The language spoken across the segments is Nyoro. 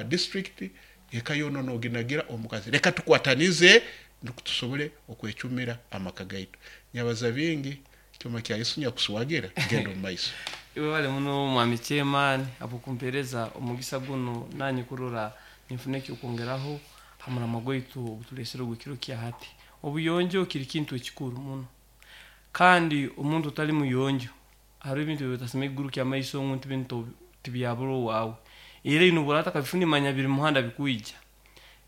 Ha district, eka yoona noginagira omukazi. Leka tukwatanize nukwo tusobole okwecumira amaka gaitu. Nyabaza bingi, kyoma kya Yesu nyakuswagira, genda omu maiso. Webale muno, mwami chairman, habwokumpereza omugisa guno nanye kurora ninfuna ekyokwongeraho ha muramwa gwaitu ogutulesere ogw'ekiro kya hati. Obuyonjo kiri kintu ekikuru muno, kandi omuntu otali muyonjo hariho ebintu ebi kuguruka amaiso ngu nti bintu tibyabura owaawe. Era ino obu otakabifuna, manya biri muhanda bikwija.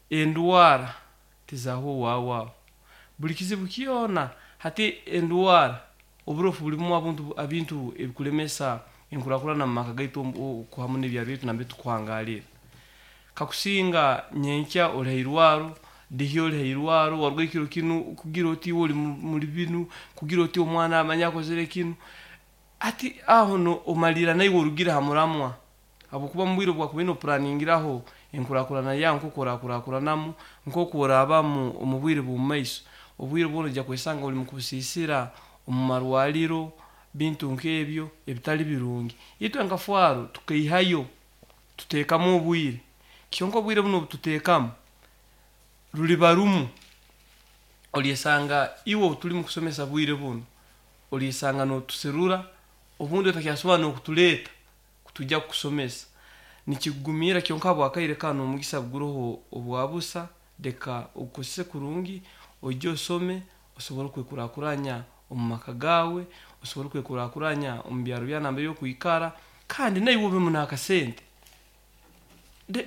Endwara tizaaho owaawe aho, buli kizibu kyona. Hati endwara, oburofu, bulimu abuntu ebintu ebikulemesa enkurakurana mu maka gaitu hamu n'ebyaro byaitu nambere tukuhangalira. Kakusinga nyenkya oli hairwaro, dihi oli hairwaro, waruga ekiro kinu kugira oti iwe oli muli binu, kugira oti omwana amanye akozere kinu. Hati aho no omalira naiwe orugire ha muramwa, habwokuba mu bwire obwakubaire noplaningiraho enkurakurana yawe, nkoku orakurakuranamu, nkoku orabamu omu bwire bw'omu maiso, obwire bwona ojja kwesanga oli mukubusiisira omu marwariro, bintu nk'ebyo ebitali birungi. Itwe nka FARO tukaihayo tuteekamu obwire, kyonka obwire bunu obututeekamu ruliba rumu, olyesanga iwe obu tuli mukusomesa bwire bunu olyesanga notuserura, obundi otakyasobora n'okutuleeta kutwija kukusomesa, nikikugumira. Kyonka habwakaire kanu omugisa guroho obwa busa, leka ogukozese kurungi, oije osome, osobole okwekurakuranya omu maka gaawe, osobole okwekurakuranya omu byaro byawe nambere okwikara, kandi naiwe obemu n'akasente.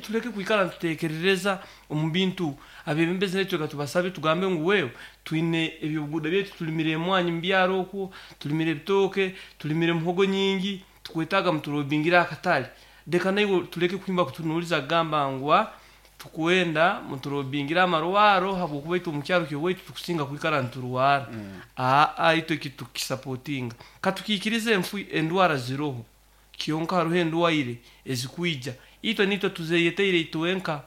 Tuleke kwikara nituteekerereza omu bintu. Abebembezi naitwe leka tubasabe, tugambe ngu wewe, twine ebyobuguuda byaitu, tulimire emwanyi mu byaro okwo, tulimire ebitooke, tulimire muhogo nyingi, tukwetaaga mutulobingire akatale. Leka naiwe tuleke kuhimba kutunuuliza kugamba ngu tukwenda mutulobingire amarwaro, habwokuba itwe omu kyaro ky'owaitu tukusinga kwikara niturwara. Aa, itwe eki tukisapotinga, katukiikirize enfu endwara ziroho, kyonka haroho endwaire ezikwija itwe nitwe tuzeyeteire itwenka.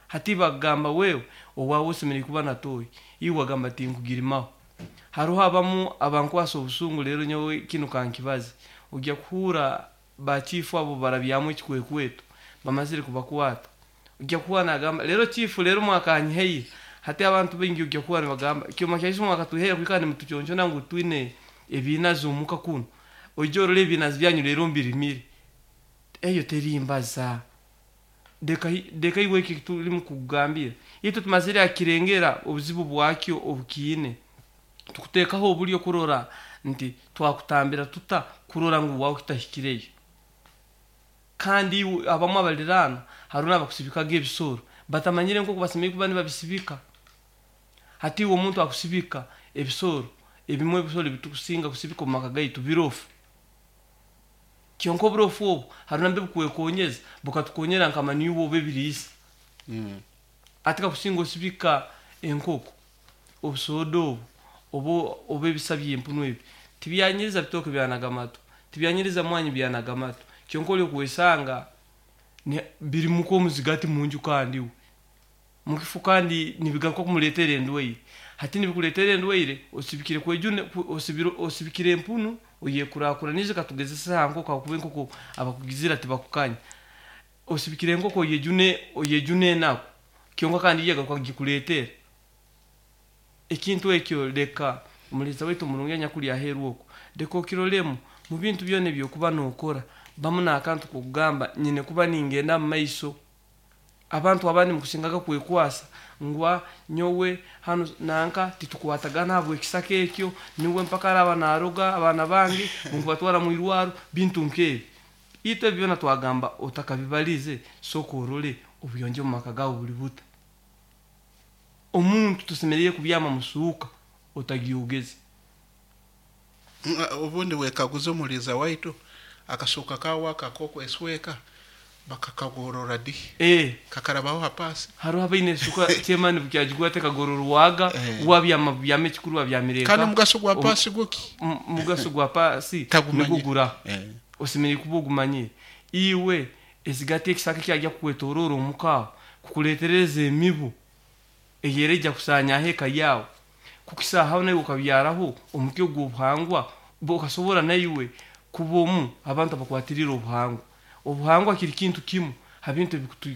Hati bagamba, wewe owaawe osemeriire kuba na toyi, iwe wagamba tinkugirimaho. Haroho abamu abankwasa obusungu. Rero nyowe kinu kankibaze, ojja kuhuura bachifu abo barabyamu ekikwekweto, bamazire kubakwata, ojja kuhuura nagamba, "Rero chifu, rero mwakanyihaire." Hati abantu baingi ojja kuhuura nibagamba, "Kyoma kyaisu mwakatwihaire kwikara nimutuconcona ngu twine ebinazi omuka kunu, oije orole ebinazi byanyu rero mbirimire." Eyo terimbaza. Leka iwe eki tulimu kukugambira, itwe tumazire akirengera obuzibu bwakyo obukiine, tukuteekaho obulyo kurora nti twakutambira tuta kurora ngu wawe kitahikireyo. Kandi iwe abamu abaliraano, hariho n'abakusibikaga ebisoro batamanyire nkoku basemeriire kuba nibabisibika. Hati iwe omuntu akusibika ebisoro, ebimwe ebisoro ebitukusinga kusibika omu maka gaitu birofu, kyonka oburofu obu hariho nambere bukwekonyeza, bukatukonyera nka manure oba ebiriisa. Ati kakusinga osibika enkoko, obusoda obu oba ebisa by'empunu ebi tibyanyiriza bitooke byanaga amatu, tibyanyiriza mwanyi byanaga amatu, kyonka oli okwesanga birimu nk'omuzigati munju, kandi iwe mukifu, kandi nibigaruka kumuleetera endwaire. Hati nibikuleetera endwaire, osibikire kwejune, osibikire empunu oyekurakuranize. Katugezese ha nkoko, habwokuba enkoko abakugizira tibakukanya. Osibikire enkoko oyejune, oyejune enaku, kyonka kandi yo egaruka gikuleetera ekintu ekyo. Leka omuleeza waitu omurungi anyakuli aheeru oku, leka okirolemu mu bintu byona ebyokuba nookora, bamu n'akantu k'okugamba nyine kuba ningenda mu maiso. Abantu abandi mukusingaga kwekwasa ngu nyowe hanu nanka titukwatagana habw'ekisaka ekyo, niwe mpaka araba naroga abaana bange nkubatwara mu irwaro, bintu nk'ebi. Itwe ebi byona twagamba, otakabibalize sooka orole obuyonjo omu maka gawe buli buta. Omuntu tosemeriire kubyama musuuka otagyogeze. Obundi wekaguza, omuliiza waitu, akasuuka kawe aka ak'okwesweka bakakagorora di? Kakarabaho ha paasi? Hariho abaine esuka, chairman, bukyagigwa tekagororwaga. Wabyama bubyama, ekikuru wabyamire Kandi nka omugaso gwa paasi guki? Mugaso gwa paasi Tagumanyire. nigwo guraho. Osemeriire kuba ogumanyire iwe ezigati ekisaka ekyajya kukwetoroora omuka aho kukuleetereza emibu eyera ejya kusanyaho eka yawe, kukisahaho naiwe okabyaraho omuti ogw'obuhangwa, okasobora naiwe kuba omu abantu abakwatirire obuhangwa. Obuhangwa kiri kintu kimu ha bintu.